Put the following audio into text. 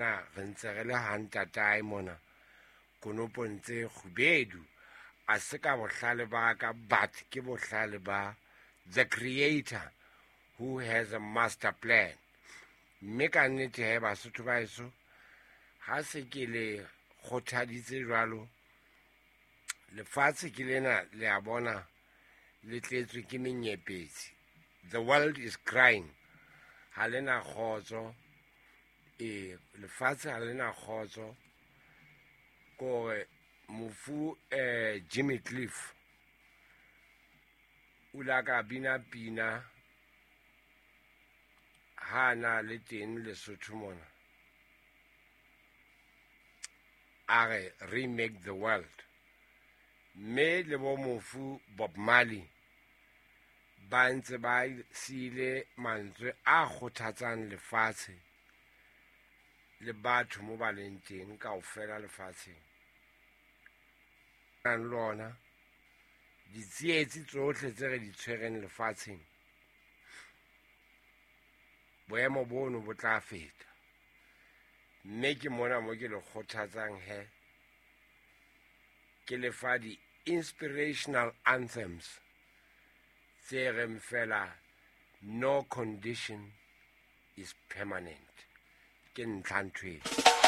Na re ntse re le ha ntatae mona konopong tse kgubedu. A se ka bohlale ba ka, but ke bohlale ba the creator who has a master plan. Mme ka nnete he, Basotho ba eso, ha se ke le kgothaditse jwalo, lefatshe ke lena, le a bona, le tletswe ke menyepetsi. The world is crying, ha le na kgotso. Ee, lefatshe ha le na kgotso. Kore mofu Jimmy Cliff o ile a ka bina pina ha na le teng Lesotho mona, a re "Remake the world". Mme le bo mofu Bob Marley ba ntse ba siile mantswe a kgothatsang lefatshe le batho mo ba leng teng kaofela lefatsheng. Nang le ona ditsietsi tsohle tse re di tshwereng lefatsheng, boemo bono bo tla feta. Mme ke mona mo ke le kgothatsang he, ke lefa di-inspirational anthems tse reng fela "No condition is permanent". Ke ntlha ntho.